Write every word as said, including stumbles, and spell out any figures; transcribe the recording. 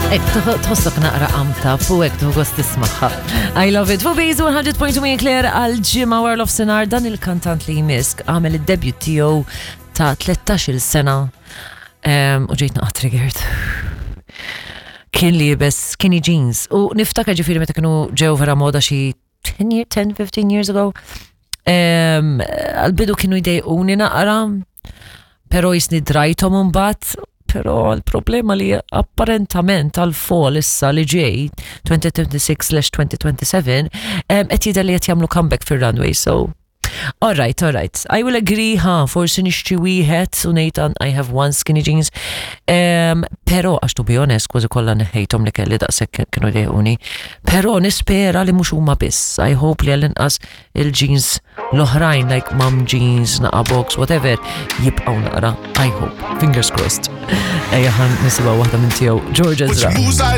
Ek, tħossok naqra amta, fu ek tħoss tismagħha. I love it. Fu Bejzu one hundred point two Claire għal ġimgħa World of Sinar. Dan il-kantant li jmiss għamel id-debut tiegħu ta' tlettax-il sena Em, u ġejt naqa triggered. Kien liebes skinny jeans u niftakar ġifieri meta kienu ġew vera moda xi ten year, ten, fifteen years ago. Em, Għal-bidu kienu jdejquni naqra, pero jisni drajtom mbagħad, pero l-problema li apparentament għal-fall issa li ġej twenty twenty-six twenty twenty-seven qed jidher li qed jagħmlu comeback fir-runway, so all right, all right. I will agree, ha, forsi nixtri wieħed u ngħid I have one skinny jeans. Um, pero, għax to be honest, kważi kollha neħejthom li kelli daqshekk kienu dejquni. Pero nispera li mhux huma biss. I hope li għall-inqas il-jeans l-oħrajn, like mom jeans, naqa box, whatever, jibqgħu naqra. I hope. Fingers crossed. Ejja ħa nisimgħu waħda minn tiegħu, George Ezra. Moves I